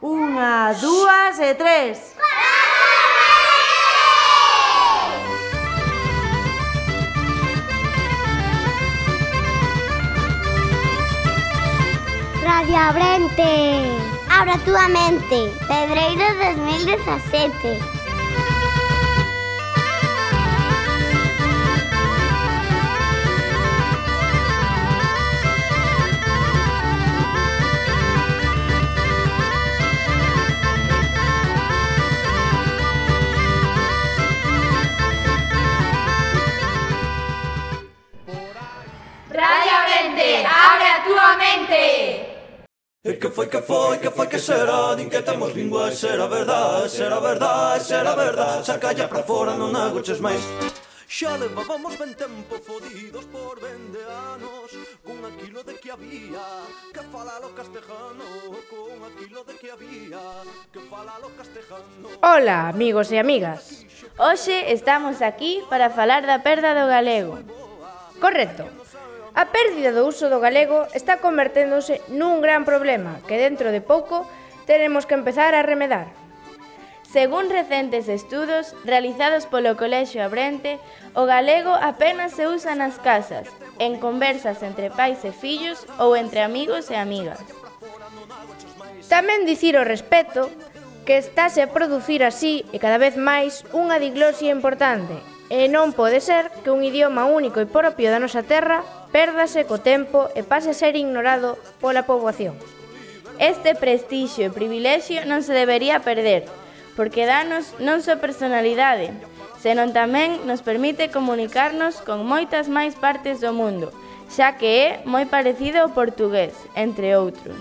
Unha, dúas e tres. Radio Abrente, abra túa mente, Pedreiro 2017. Radio Abrente, abre a túa mente. E que foi que será? Din que temos lingua, e será verdade, será verdade, será verdade. Sacalla pra fora, non agoches máis. Xa levábamos ben tempo fodidos por 20 anos, con aquilo de que había que falalo castejano, con aquilo de que había que falalo castejano. Ola, amigos e amigas. Hoxe estamos aquí para falar da perda do galego. Correcto. A pérdida do uso do galego está converténdose nun gran problema que dentro de pouco teremos que empezar a remedar. Según recentes estudos realizados polo Colexio Abrente, o galego apenas se usa nas casas, en conversas entre pais e fillos ou entre amigos e amigas. Tamén dicir ao respecto que estáse a producir así e cada vez máis unha diglosia importante, e non pode ser que un idioma único e propio da nosa terra pérdase co tempo e pase a ser ignorado pola poboación. Este prestixio e privilexio non se debería perder, porque danos non só personalidade, senón tamén nos permite comunicarnos con moitas máis partes do mundo, xa que é moi parecido ao portugués, entre outros.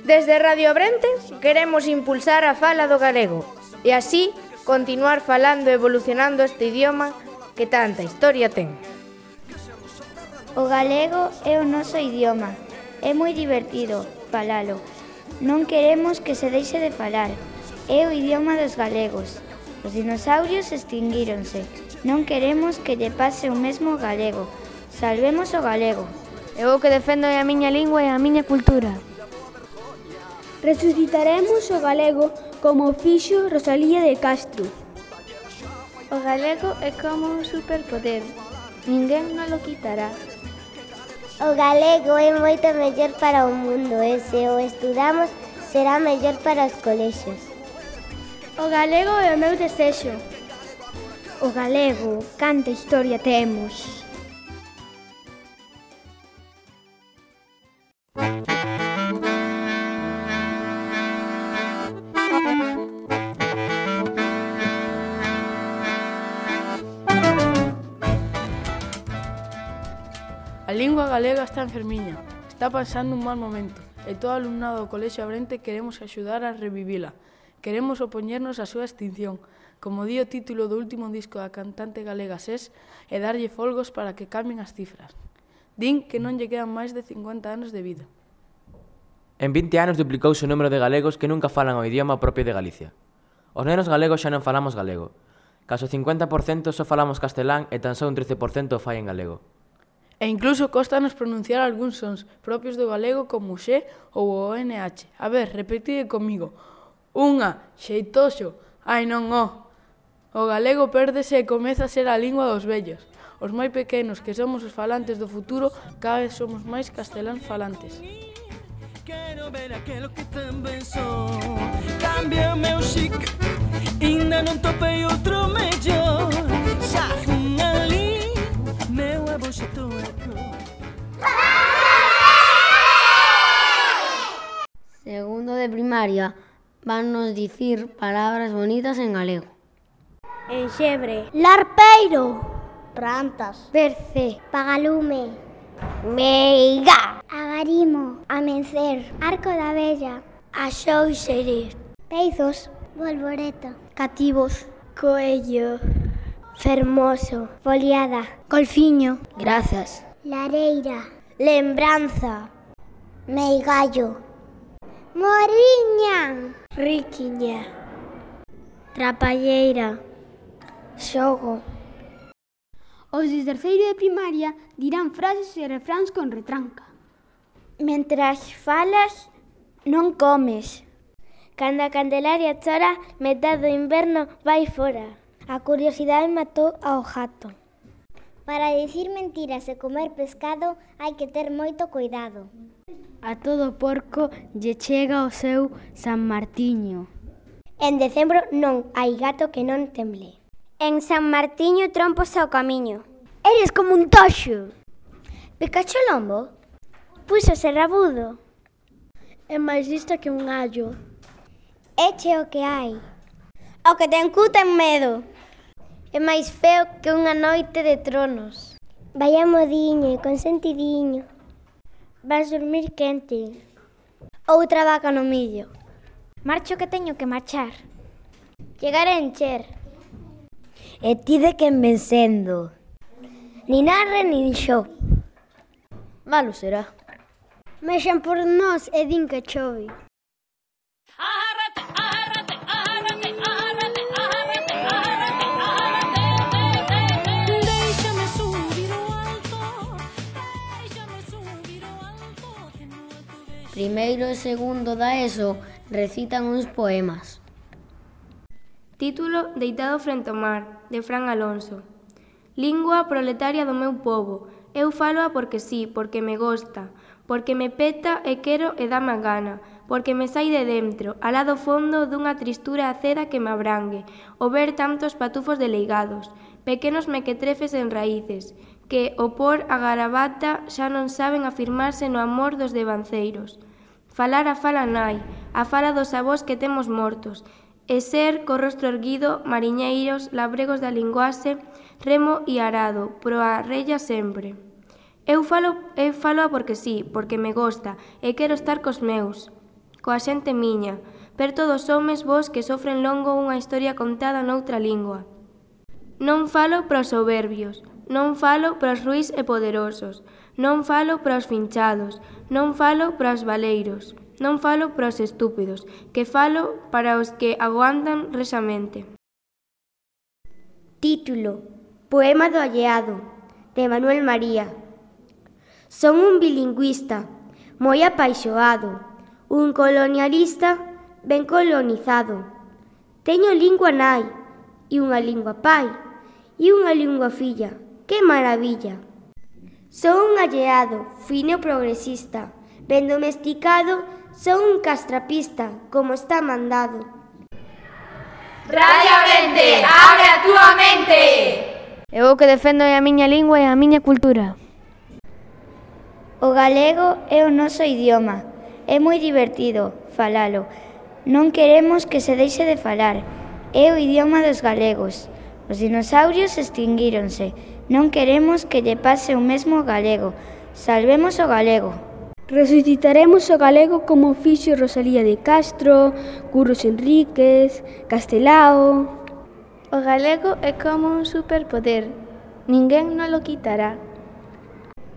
Desde Radio Abrente queremos impulsar a fala do galego e así continuar falando e evolucionando este idioma que tanta historia ten. O galego é o noso idioma. É moi divertido falalo. Non queremos que se deixe de falar. É o idioma dos galegos. Os dinosaurios extinguíronse. Non queremos que lle pase o mesmo ao galego. Salvemos o galego. Eu o que defendo é a miña lingua e a miña cultura. Resucitaremos o galego como fixo Rosalía de Castro. O galego é como un superpoder. Ninguén non lo quitará. O galego é moito mellor para o mundo e se o estudamos será mellor para os colexios. O galego é o meu desexo. O galego, canta historia temos. A lingua galega está enfermiña, está pasando un mal momento e todo o alumnado do Colexio Abrente queremos axudar a revivila. Queremos opoñernos á súa extinción, como di o título do último disco da cantante galega SES, e darlle folgos para que cambien as cifras. Din que non lle quedan máis de 50 anos de vida. En 20 anos duplicouse o número de galegos que nunca falan o idioma propio de Galicia. Os nenos galegos xa non falamos galego. Caso 50% só falamos castelán e tan só un 13% o fai en galego. E incluso costanos pronunciar algúns sons propios do galego como o xe ou o NH. A ver, repetide comigo. Unha, xeitoxo, ai non o. O galego pérdese e comeza a ser a lingua dos vellos. Os moi pequenos, que somos os falantes do futuro, cada vez somos máis casteláns falantes. Quero ver aquilo que tamén son. Cambia o meu chic, ainda non topei outro mellor. Xa fun ali, meu aboxetou a cor. Segundo de primaria, van nos dicir palabras bonitas en galego. Enxebre, Larpeiro, Rantas, Berce, Pagalume, Meiga, Agarimo, Amencer, Arco da Vella, Axóuxere, Peizos, Bolboreta, Cativos, Coello, Fermoso, Foliada, Golfiño, Grazas, Lareira, Lembranza, Meigallo, Moriña, Riquiña, Trapalleira, Xogo. Os de terceiro de primaria dirán frases e refráns con retranca. Mentras falas, non comes. Cando a Candelaria chora, metade do inverno vai fora. A curiosidade matou ao gato. Para dicir mentiras e comer pescado hai que ter moito cuidado. A todo porco lle chega o seu San Martiño. En decembro non hai gato que non temble. En San Martiño trompos ao camiño. Eres como un toxo. Picacho lombo? Púxose rabudo. É máis lista que un allo. Eche o que hai. O que ten cu ten medo. É máis feo que unha noite de tronos. Vai a modiño e consentidiño. Vas dormir quente. Outra vaca no millo. Marcho que teño que marchar. Chegar a encher. E ti de quen vencendo. Nin arre nin xo. Malo será. Mexan por nós e din que chove. Primeiro e segundo da ESO recitan uns poemas. Título Deitado frente ao mar, de Fran Alonso. Lingua proletaria do meu pobo, eu faloa porque sí, porque me gosta, porque me peta e quero e dame a gana, porque me sai de dentro, alá do fondo dunha tristura aceda que me abrangue, o ver tantos patufos deleigados, pequenos mequetrefes en raíces, que, o por a garabata, xa non saben afirmarse no amor dos devanceiros. Falar a fala nai, a fala dos avós que temos mortos, e ser, co rostro erguido, mariñeiros, labregos da linguaxe, remo e arado, proa rella sempre. Eu falo porque sí, porque me gosta, e quero estar cos meus, coa xente miña, perto dos homes vos que sofren longo unha historia contada noutra lingua. Non falo para os soberbios, non falo para os ruís e poderosos, non falo para os finchados, non falo para os valeiros, non falo para os estúpidos, que falo para os que aguantan resamente. Título: Poema do alleado, de Manuel María. Son un bilingüista, moi apaixoado, un colonialista ben colonizado. Teño lingua nai, e unha lingua pai, e unha lingua filla. Que maravilla! Son un alleado, fino e progresista, ben domesticado, son un castrapista, como está mandado. Radio Ourente, abre a túa mente! Eu o que defendo é a miña lingua e a miña cultura. O galego é o noso idioma. É moi divertido falalo. Non queremos que se deixe de falar. É o idioma dos galegos. Os dinosaurios extinguíronse. Non queremos que lle pase o mesmo ao galego. Salvemos o galego. Resucitaremos o galego como fixo Rosalía de Castro, Curros Enríquez, Castelao. O galego é como un superpoder. Ninguén non lo quitará.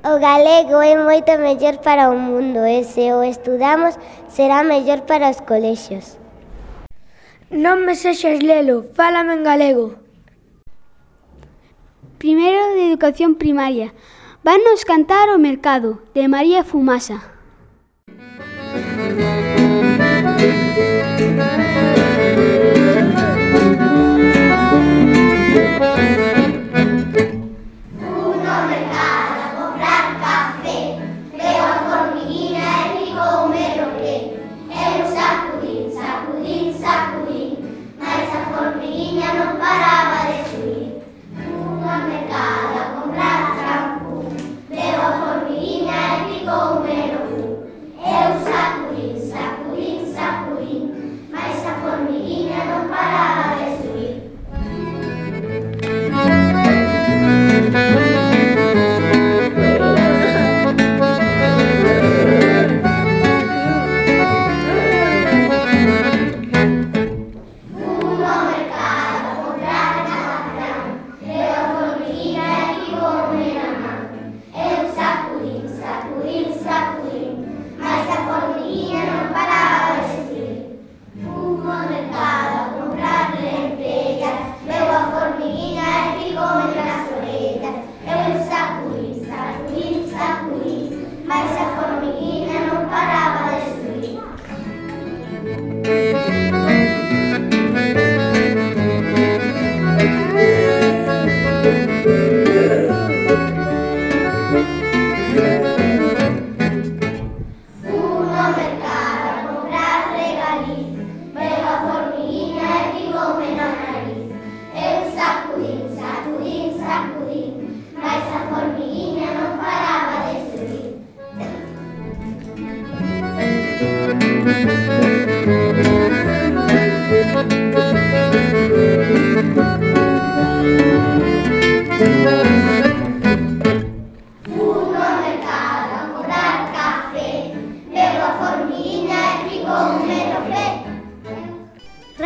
O galego é moito mellor para o mundo e se o estudamos será mellor para os colexios. Non me sexas lelo, fálame en galego. Primeiro de educación primaria. Vanos cantar o mercado, de María Fumasa. Mas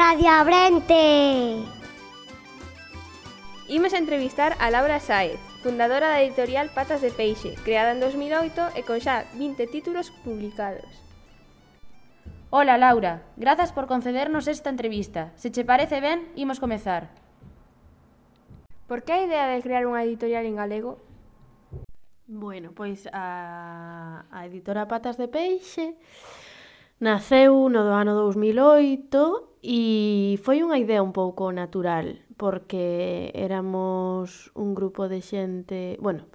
Radio Abrente. Imos a entrevistar a Laura Sáez, fundadora da editorial Patas de Peixe, creada en 2008 e con xa 20 títulos publicados. Hola, Laura. Grazas por concedernos esta entrevista. Se che parece ben, imos comezar. Por que a idea de crear unha editorial en galego? Bueno, pois a editora Patas de Peixe naceu no ano 2008 e foi unha idea un pouco natural, porque éramos un grupo de xente... Bueno,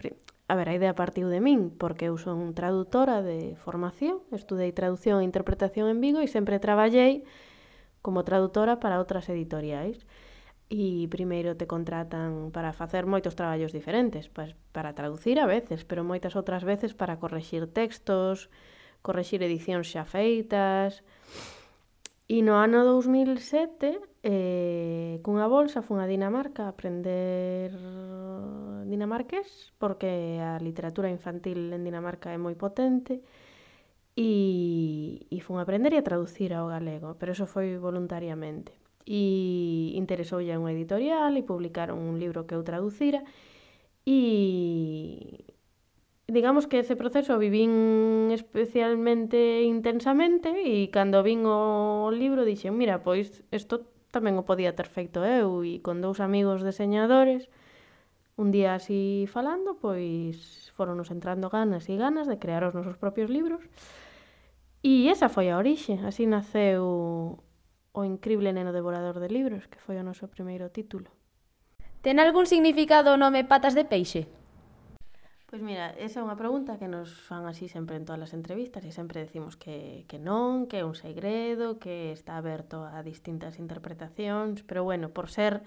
a ver, a idea partiu de min, porque eu son traductora de formación, estudei traducción e interpretación en Vigo e sempre traballei como traductora para outras editoriais. E primeiro te contratan para facer moitos traballos diferentes, para traducir a veces, pero moitas outras veces para correxir textos, correxir edicións xa feitas. E no ano 2007, cunha bolsa, fun a Dinamarca a aprender dinamarqués, porque a literatura infantil en Dinamarca é moi potente, e fun a aprender e a traducir ao galego, pero eso foi voluntariamente. E interesoulle a unha editorial e publicaron un libro que eu traducira e digamos que ese proceso vivín especialmente intensamente e cando vin o libro dixen, mira, pois isto tamén o podía ter feito eu e con dous amigos deseñadores un día así falando, pois foronnos entrando ganas e ganas de crear os nosos propios libros e esa foi a orixe, así naceu O incrible neno devorador de libros, que foi o noso primeiro título. Ten algún significado o nome Patas de Peixe? Pois mira, esa é unha pregunta que nos fan así sempre en todas as entrevistas e sempre decimos que non, que é un segredo, que está aberto a distintas interpretacións, pero bueno, por ser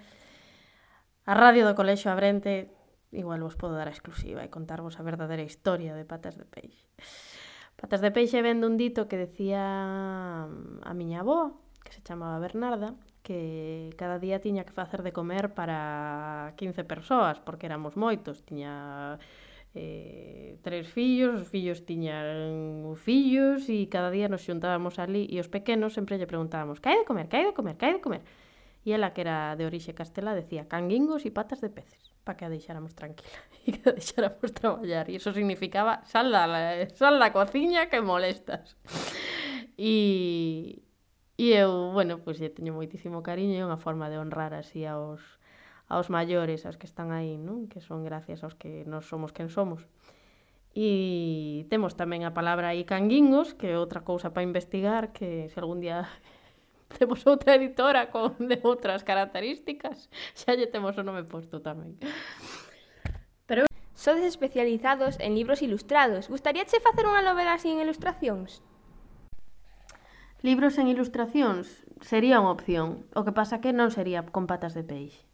a radio do Colexio Abrente, igual vos podo dar a exclusiva e contarvos a verdadeira historia de Patas de Peixe. Patas de Peixe ven dun dito que decía a miña avoa, que se chamaba Bernarda, que cada día tiña que facer de comer para 15 persoas, porque éramos moitos, tiña 3 fillos, os fillos tiñan fillos, e cada día nos xuntábamos ali, e os pequenos sempre lle preguntábamos, que hai de comer, que hai de comer, que hai de comer? E ela, que era de orixe castelá, decía canguingos e patas de peces, para que a deixáramos tranquila, e que a deixáramos traballar, e iso significaba sal da cociña que molestas. E eu, bueno, pois lle teño moitísimo cariño, é unha forma de honrar así aos maiores, aos que están aí, non? Que son gracias aos que nos somos quen somos. E temos tamén a palabra aí canguingos, que é outra cousa para investigar, que se algún día temos outra editora de outras características, xa lle temos o nome posto tamén. Pero sodes especializados en libros ilustrados. Gustaríache facer unha novela así en ilustracións? Libros en ilustracións sería unha opción, o que pasa que non sería con Patas de Peixe.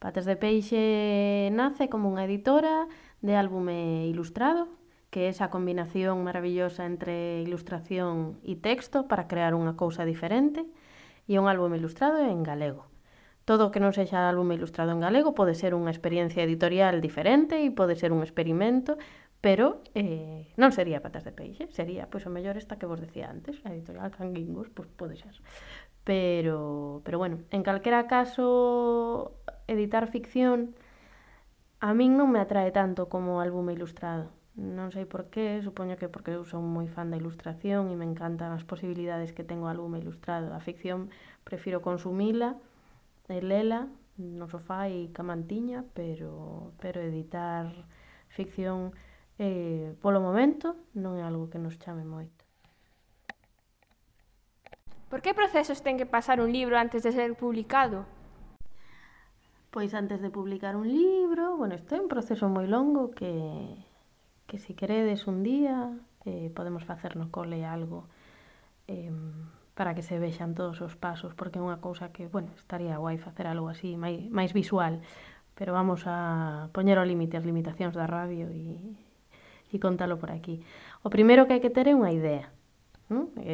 Patas de Peixe nace como unha editora de álbume ilustrado, que é esa combinación maravillosa entre ilustración e texto para crear unha cousa diferente, e un álbume ilustrado en galego. Todo o que non sexa álbume ilustrado en galego pode ser unha experiencia editorial diferente e pode ser un experimento, pero non sería Patas de Peixe, sería, pois, o mellor esta que vos decía antes, a editorial Canguingos, pois pode ser. Pero bueno, en calquera caso, editar ficción a min non me atrae tanto como o álbume ilustrado. Non sei por qué, supoño que porque eu son moi fan da ilustración e me encantan as posibilidades que ten o álbume ilustrado. A ficción prefiro consumila e lela no sofá e ca mantiña, pero editar ficción polo momento non é algo que nos chame moito. Por que procesos ten que pasar un libro antes de ser publicado? Pois antes de publicar un libro, bueno, isto é un proceso moi longo que se queredes un día podemos facer no cole algo para que se vexan todos os pasos, porque é unha cousa que, bueno, estaría guai facer algo así máis visual, pero vamos a poñer ao límite as limitacións da radio e contalo por aquí. O primeiro que hai que ter é unha idea.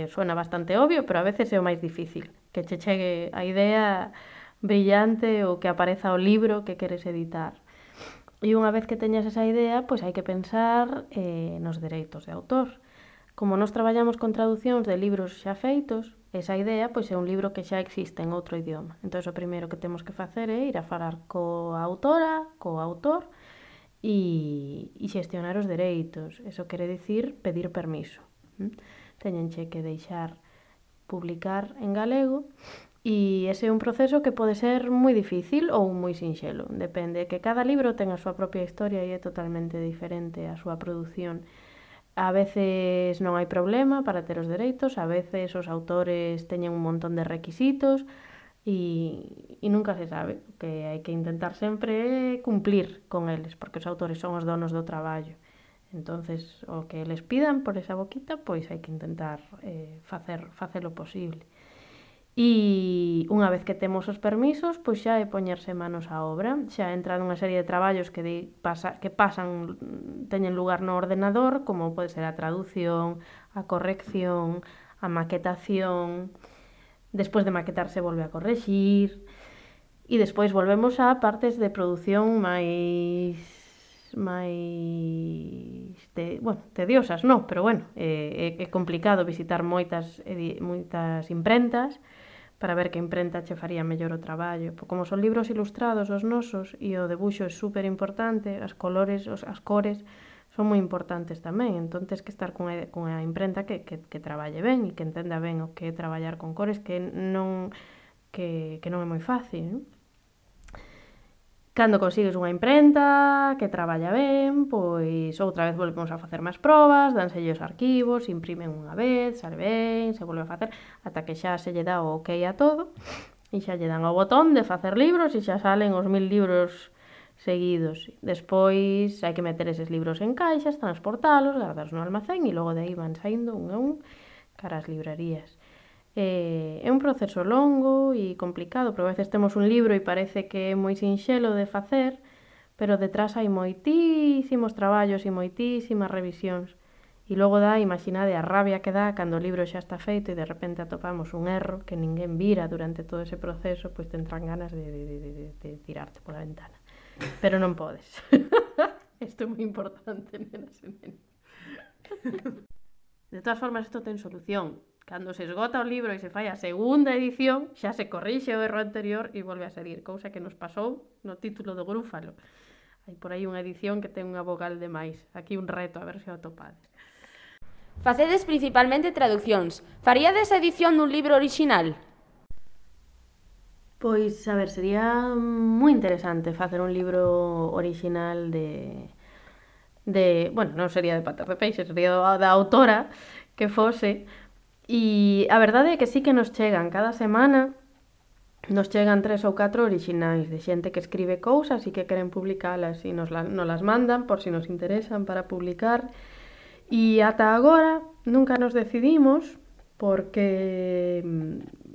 Suena bastante obvio, pero a veces é o máis difícil, que che chegue a idea brillante ou que apareza o libro que queres editar. E unha vez que teñas esa idea, pois hai que pensar nos dereitos de autor. Como nós traballamos con traducións de libros xa feitos, esa idea pois é un libro que xa existe en outro idioma. Entón, o primeiro que temos que facer é ir a falar coa autora, co autor, e xestionar os dereitos. Eso quere dicir pedir permiso. Teñenche que deixar publicar en galego, e ese é un proceso que pode ser moi difícil ou moi sinxelo. Depende, que cada libro ten a súa propia historia e é totalmente diferente a súa produción. A veces non hai problema para ter os dereitos, a veces os autores teñen un montón de requisitos e nunca se sabe. O que hai que intentar sempre é cumplir con eles, porque os autores son os donos do traballo. Entonces, o que eles pidan por esa boquita, pois hai que intentar facer o posible. E unha vez que temos os permisos, pois xa é poñerse manos á obra, xa entra nunha serie de traballos que pasan, teñen lugar no ordenador, como pode ser a traducción, a corrección, a maquetación, despois de maquetar se volve a correxir, e despois volvemos a partes de produción máis tediosas, non, pero bueno, é complicado visitar moitas imprentas para ver que imprenta che faría mellor o traballo. Como son libros ilustrados os nosos e o debuxo é super importante, as cores son moi importantes tamén, entón tens que estar cunha imprenta que traballe ben e que entenda ben o que é traballar con cores, que non é moi fácil, non? Cando consigues unha imprenta que traballa ben, pois outra vez volvemos a facer máis probas, dánselle os arquivos, imprimen unha vez, sale ben, se volve a facer, ata que xa se lle dá o ok a todo, e xa lle dan o botón de facer libros e xa salen os 1000 libros seguidos. Despois hai que meter eses libros en caixas, transportalos, guardalos no almacén e logo de aí van saindo un a un cara ás librarías. É un proceso longo e complicado, porque a veces temos un libro e parece que é moi sinxelo de facer, pero detrás hai moitísimos traballos e moitísimas revisións. E logo imaginade a rabia que dá cando o libro xa está feito e de repente atopamos un erro que ninguén vira durante todo ese proceso, pois tentran ganas de tirarte pola ventana. Pero non podes. Isto é moi importante, nenas e nenos. De todas formas, isto ten solución. Cando se esgota o libro e se fai a segunda edición, xa se corrixe o erro anterior e volve a seguir, cousa que nos pasou no título do Grúfalo. Hai por aí unha edición que ten unha vogal de máis. Aquí un reto, a ver se o atopades. Facedes principalmente traduccións. Faríades a edición dun libro orixinal? Pois, a ver, sería moi interesante facer un libro orixinal bueno, non sería de Patas de Peixe, sería da autora que fose. E a verdade é que sí que nos chegan cada semana, nos chegan 3 ou 4 orixinais de xente que escribe cousas e que queren publicalas e nos las mandan por si nos interesan para publicar. E ata agora nunca nos decidimos porque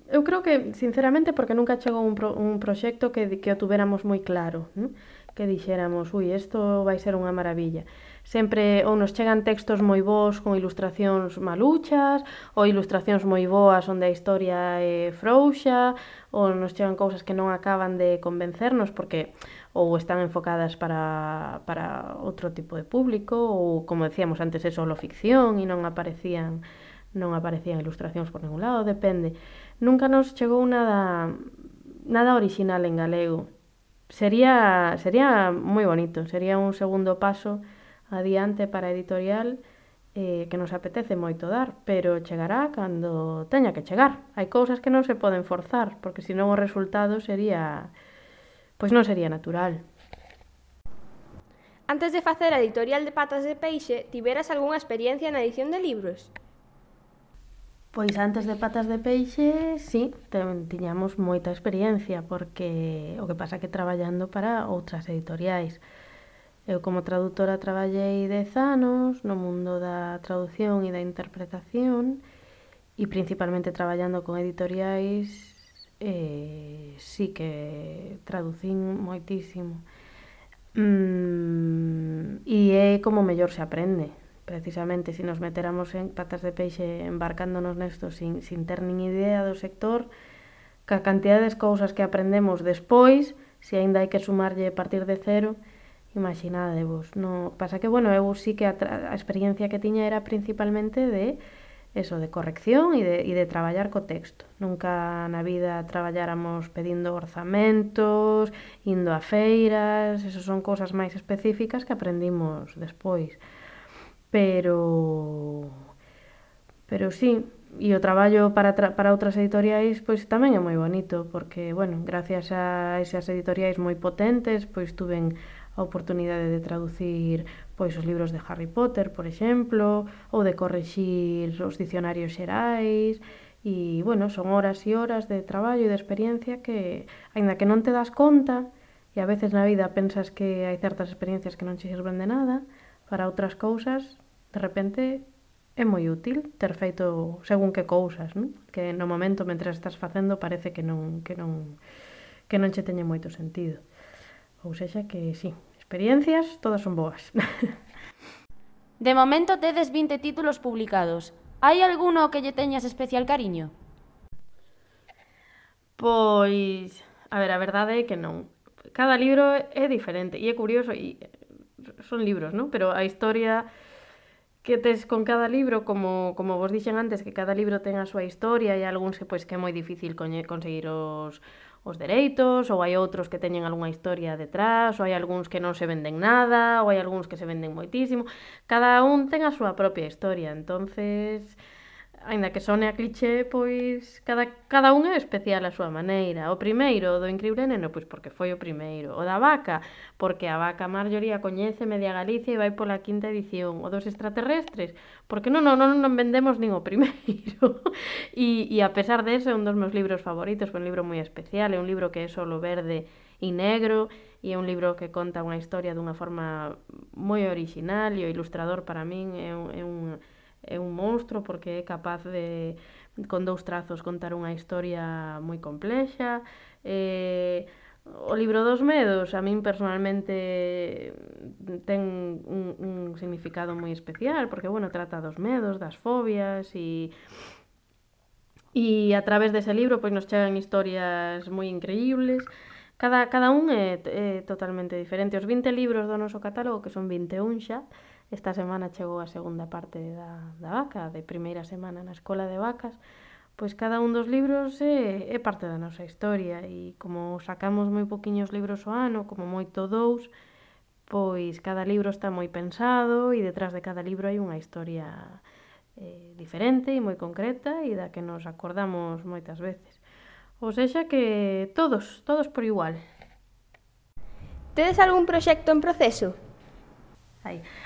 eu creo que, sinceramente, porque nunca chegou un proxecto que o tuveramos moi claro, non? Que dixéramos, isto vai ser unha maravilla. Sempre ou nos chegan textos moi bons con ilustracións maluchas, ou ilustracións moi boas onde a historia é frouxa, ou nos chegan cousas que non acaban de convencernos porque ou están enfocadas para outro tipo de público, ou, como decíamos antes, é solo ficción e non aparecían ilustracións por ningún lado, depende. Nunca nos chegou nada orixinal en galego. Sería moi bonito, sería un segundo paso adiante para a editorial que nos apetece moito dar, pero chegará cando teña que chegar. Hai cousas que non se poden forzar, porque senón o resultado non sería natural. Antes de facer a editorial de Patas de Peixe, tiveras algunha experiencia na edición de libros? Pois antes de Patas de Peixe, sí, tiñamos moita experiencia, porque o que pasa que traballando para outras editoriais. Eu como traductora traballei 10 anos no mundo da traducción e da interpretación e principalmente traballando con editoriais sí que traducín moitísimo. E é como mellor se aprende. Precisamente, se nos meteramos en Patas de Peixe embarcándonos nesto sin ter nin idea do sector, ca cantidad de cousas que aprendemos despois, se aínda hai que sumarlle a partir de cero, imaginadevos. No, pasa que, bueno, eu sí que a experiencia que tiña era principalmente de eso, de corrección e de traballar co texto. Nunca na vida traballáramos pedindo orzamentos, indo a feiras, eso son cousas máis específicas que aprendimos despois. Pero sí, e o traballo para outras editoriais pois tamén é moi bonito, porque, bueno, gracias a esas editoriais moi potentes, pois tuven a oportunidade de traducir pois os libros de Harry Potter, por exemplo, ou de corrixir os dicionarios xerais, e, bueno, son horas e horas de traballo e de experiencia que, aínda que non te das conta, e a veces na vida pensas que hai certas experiencias que non che sirven de nada, para outras cousas, de repente, é moi útil ter feito según que cousas, non? Que no momento, mentre estás facendo, parece que non che teñe moito sentido. Ou sexa que, sí, experiencias, todas son boas. De momento tedes 20 títulos publicados. Hai alguno que lle teñas especial cariño? Pois, a ver, a verdade é que non. Cada libro é diferente e é curioso, e son libros, non? Pero a historia que tes con cada libro, como vos dixen antes, que cada libro ten a súa historia e algúns que pois que é moi difícil conseguir os dereitos, ou hai outros que teñen algunha historia detrás, ou hai algúns que non se venden nada, ou hai algúns que se venden moitísimo. Cada un ten a súa propia historia, entonces, aínda que sone a cliché, pois cada un é especial a súa maneira. O primeiro, do Incrible Neno, pois porque foi o primeiro. O da vaca, porque a vaca Marjorie a coñece media Galicia e vai pola quinta edición. O dos extraterrestres, porque non vendemos nin o primeiro. E a pesar de eso, é un dos meus libros favoritos, foi un libro moi especial, é un libro que é solo verde e negro, e é un libro que conta unha historia dunha forma moi orixinal, e o ilustrador para min é un monstro, porque é capaz de, con 2 trazos, contar unha historia moi complexa. O libro dos medos, a min personalmente ten un significado moi especial, porque, bueno, trata dos medos, das fobias, e a través dese libro pois nos chegan historias moi increíbles. Cada un é totalmente diferente. Os 20 libros do noso catálogo, que son 21 xa, esta semana chegou a segunda parte da vaca, de primeira semana na Escola de Vacas, pois cada un dos libros é parte da nosa historia, e como sacamos moi poquiños libros ao ano, como moito 2, pois cada libro está moi pensado, e detrás de cada libro hai unha historia diferente e moi concreta, e da que nos acordamos moitas veces. Ou sexa que todos por igual. Tedes algún proxecto en proceso?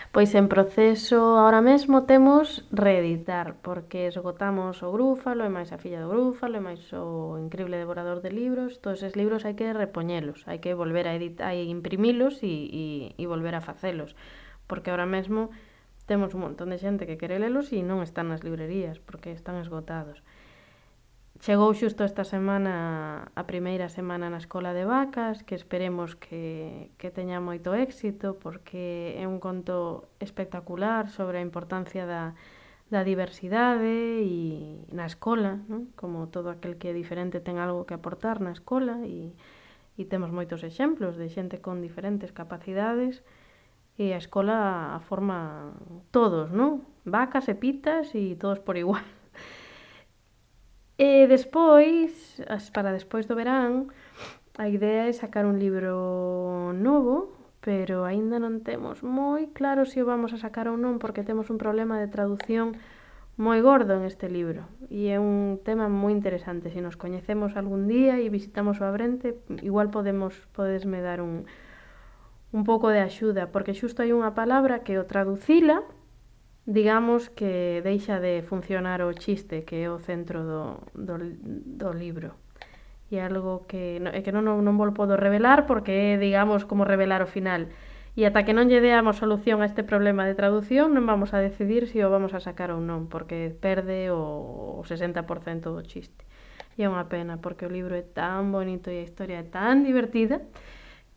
Pois en proceso ahora mesmo temos reeditar, porque esgotamos o Grúfalo, e máis a filla do Grúfalo, e máis o Incrible devorador de libros. Todos eses libros hai que repoñelos, hai que volver a editar, hai imprimilos e volver a facelos, porque ahora mesmo temos un montón de xente que quere lelos e non están nas librerías, porque están esgotados. Chegou xusto esta semana a primeira semana na Escola de Vacas, que esperemos que teña moito éxito, porque é un conto espectacular sobre a importancia da diversidade e na escola, non? Como todo aquel que é diferente ten algo que aportar na escola, e temos moitos exemplos de xente con diferentes capacidades, e a escola a forma todos, non? Vacas e pitas e todos por igual. E despois, para despois do verán, a idea é sacar un libro novo, pero aínda non temos moi claro se o vamos a sacar ou non, porque temos un problema de traducción moi gordo en este libro, e é un tema moi interesante. Se nos coñecemos algún día e visitamos o Abrente, igual podesme dar un pouco de axuda, porque xusto hai unha palabra que o traducila, digamos que deixa de funcionar o chiste, que é o centro do libro. E algo que non vos podo revelar, porque é, digamos, como revelar o final. E ata que non lle deamos solución a este problema de traducción, non vamos a decidir se o vamos a sacar ou non, porque perde o 60% do chiste. E é unha pena, porque o libro é tan bonito e a historia é tan divertida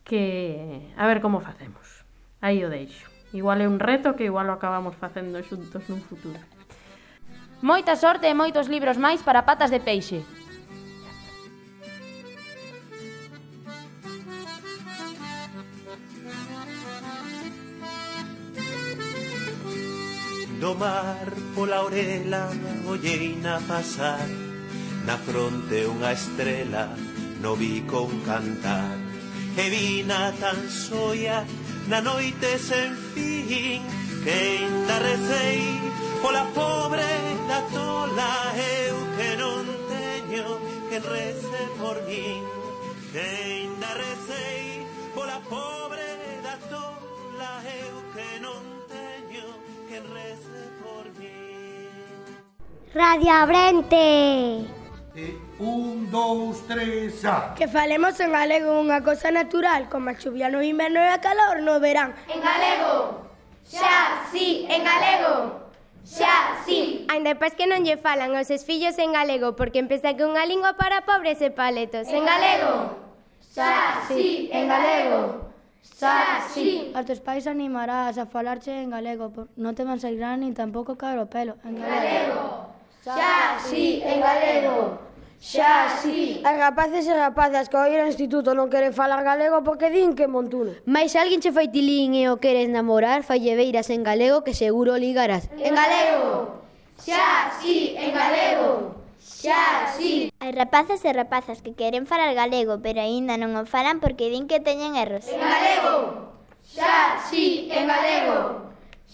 que a ver como facemos. Aí o deixo. Igual é un reto que igual o acabamos facendo xuntos nun futuro. Moita sorte e moitos libros máis para Patas de Peixe. No mar pola orela olleina pasar, na fronte unha estrela, no bico un cantar. E vina tan soia na noite sen fin, que ainda recei pola pobre da tola. Eu que non teño que rece por min, que ainda recei pola pobre da tola. Eu que non teño que rece por min. Radio Abrente. 1, 2, 3, xa. Que falemos en galego unha cosa natural, como a chuvia no inverno e a calor no verán. En galego. Xa, sí, en galego. Xa, sí. Ainda pais que non lle falan aos seus fillos en galego, porque empeza que unha lingua para pobres e paletos. En galego. Xa, sí, en galego. Xa, sí. Aos teus pais animarás a falarche en galego, non te van sair gran nin tampouco caer o pelo. En galego. Xa, sí, en galego. Xa, sí. As rapaces e rapazas que ao ir ao instituto non queren falar galego porque din que montuno. Mais se alguén che fai tilín e o queres namorar, falle beiras en galego que seguro ligarás. En galego. Xa, sí, en galego. Xa, sí. Hai rapaces e rapazas que queren falar galego, pero aínda non o falan porque din que teñen erros. En galego. Xa, sí, en galego.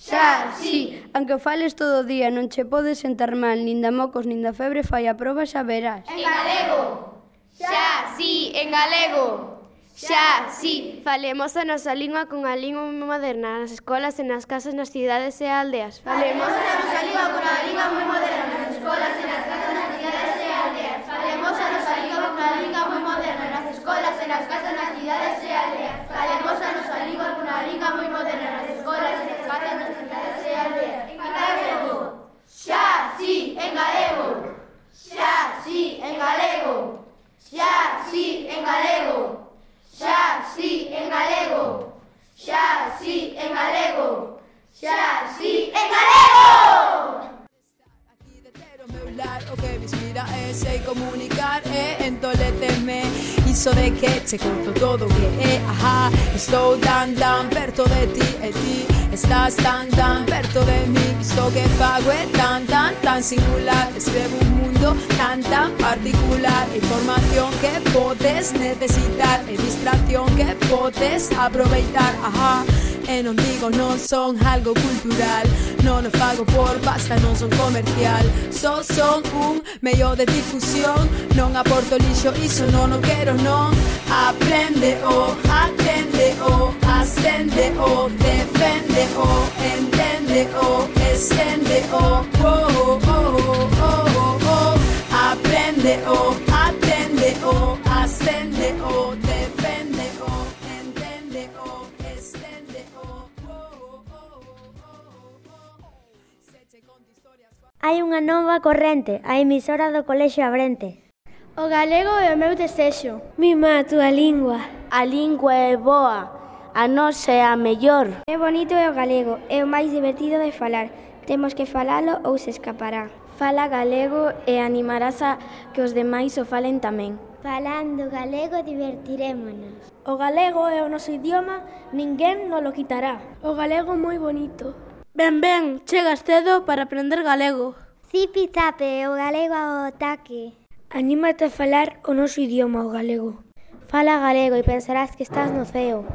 Xa, sí. Aunque fales todo o día, non che podes sentar mal, nin da mocos, nin da febre, fai a proba xa verás. En galego. Xa, sí, en galego. Xa, sí. Falemos a nosa lingua con a lingua moi moderna nas escolas e nas casas, nas cidades e aldeas. Falemos a nosa lingua con a lingua moi moderna nas escolas e nas casas, nas cidades e aldeas. Falemos a nosa lingua con a lingua moi moderna nas escolas e nas casas, nas cidades e aldeas. Falemos a nosa lingua con a lingua moi moderna nas escolas e nas casas, nas cidades e aldeas. En galego. Xa, sí, en galego. Xa, sí, en galego. Xa, sí, en galego. Xa, sí, en galego. Xa, sí, en galego. Xa, sí, en galego. O que me inspira é sei comunicar e entoleceme. Iso de que che conto todo que é, ajá. Estou tan perto de ti e ti estás tan perto de mí. Isto que fago é tan singular. Escrevo un mundo tan particular. Información que podes necesitar e distracción que podes aproveitar, ajá. E non digo non son algo cultural, non o fago por pasta, non son comercial. Só son un medio de difusión, non aporto lixo, iso non o quero, non. Aprende o, atende o, ascende o, defende o, entende o, extende o, aprende o, atende o, ascende o, defende o, entende o, extende o. Hai unha nova corrente, a emisora do Colexio Abrente. O galego é o meu desexo. Mima a túa lingua. A lingua é boa, a nosa é a mellor. É bonito o galego, é o máis divertido de falar. Temos que falalo ou se escapará. Fala galego e animarás a que os demais o falen tamén. Falando galego divertirémonos. O galego é o noso idioma, ninguén nos lo quitará. O galego é moi bonito. Ben, chegas cedo para aprender galego. Zipi-zape, o galego ao ataque. Anímate a falar o noso idioma, o galego. Fala galego e pensarás que estás no ceo.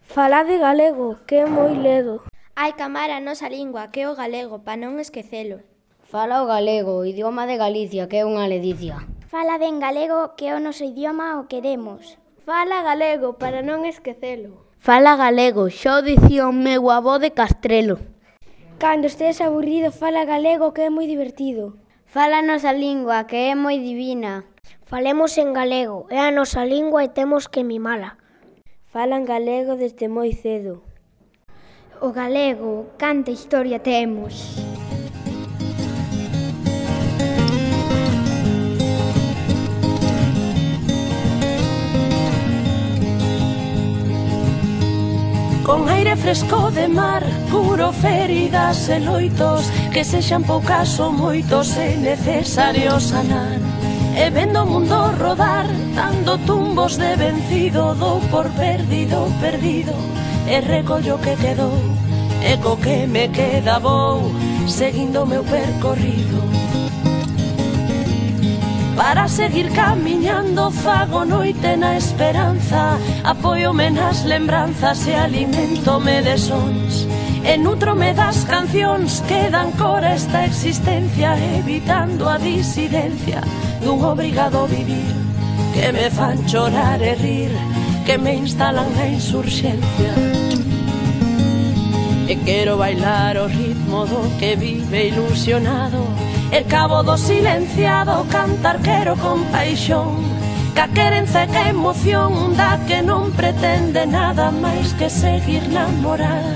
Falade galego, que é moi ledo. Hai que amar a nosa lingua, que é o galego, pa non esquecelo. Fala o galego, o idioma de Galicia, que é unha ledicia. Fala ben galego, que é o noso idioma o queremos. Fala galego, para non esquecelo. Fala galego, xa o dicía o meu avó de Castrelo. Cando estés aburrido, fala galego, que é moi divertido. Fala a nosa lingua, que é moi divina. Falemos en galego, é a nosa lingua e temos que mimala. Falan galego desde moi cedo. O galego, canta historia temos. Con aire fresco de mar, curo feridas e loitos, que sexan poucas ou moitos é necesario sanar. E vendo o mundo rodar, dando tumbos de vencido, dou por perdido, e recollo que quedou, e co que me queda vou seguindo o meu percorrido. Para seguir camiñando fago noite na esperanza, apóiome nas lembranzas e alimentome de sons, e nutrome das cancións que dan cor a esta existencia, evitando a disidencia dun obrigado vivir, que me fan chorar e rir, que me instalan na insurxencia. E quero bailar o ritmo do que vive ilusionado, e cabo do silenciado cantar quero con paixón, ca querenza e ca emoción da que non pretende nada máis que seguir namorada,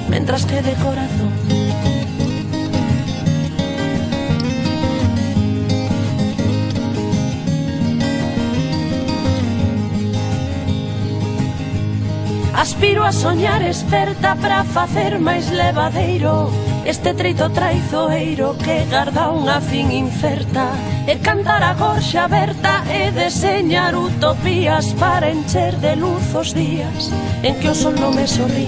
mentras que de corazón. Aspiro a soñar experta para facer máis levadeiro este treito traizoeiro que garda unha fin incerta, e cantar a gorxa aberta e deseñar utopías para encher de luz os días en que o sol non me sorrí,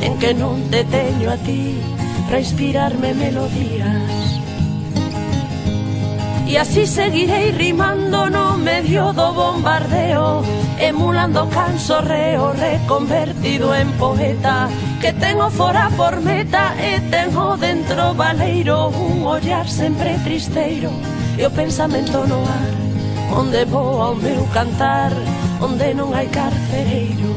en que non te teño a ti para inspirarme melodías. E así seguirei rimando no medio do bombardeo, emulando cansorreo reconvertido en poeta, que tengo fora por meta e tengo dentro baleiro un ollar sempre tristeiro e o pensamento no ar, onde voa o meu cantar, onde non hai carcereiro.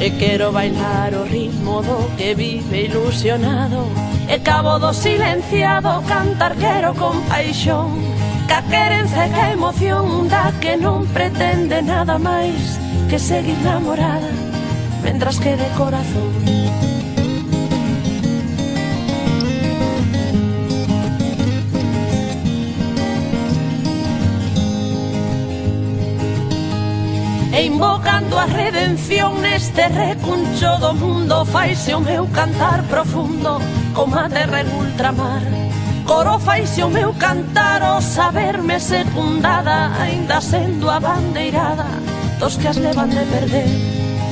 E quero bailar o ritmo do que vive ilusionado, e cabo do silenciado cantar quero con paixón, ca querenza e ca emoción da que non pretende nada máis que seguir namorada, mentras que de corazón. E invocando a redención neste recuncho do mundo, faise o meu cantar profundo como a terra en ultramar. Coro faise o meu cantar o saberme secundada, aínda sendo a bandeirada dos que as levan de perder,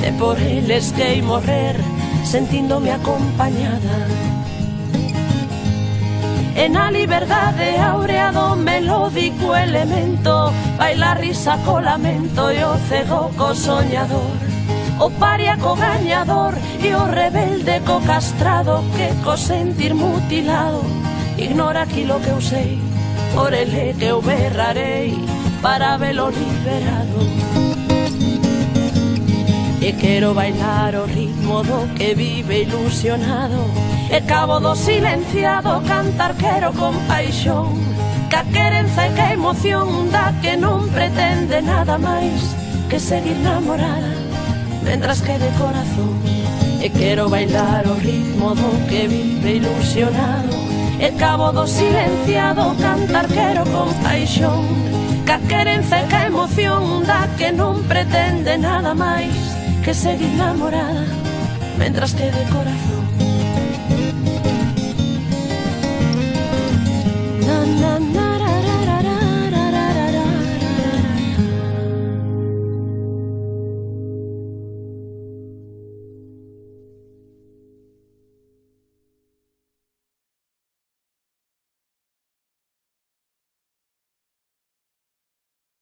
e por eles que morrer sentíndome acompañada. E na liberdade áurea do melódico elemento baila risa co lamento e o cego co soñador, o paria co gañador e o rebelde co castrado, que co sentir mutilado ignora aquilo que eu sei, por ele que eu berrarei para velo liberado. E quero bailar o ritmo do que vive ilusionado, e cabo do silenciado cantar quero con paixón, ca querenza e ca emoción da que non pretende nada máis que seguir namorada, mentras que de corazón. E quero bailar o ritmo do que vive ilusionado, e cabo do silenciado cantar quero con paixón, ca querenza e ca emoción da que non pretende nada máis que seguir namorada, mentras que de corazón. Na, na.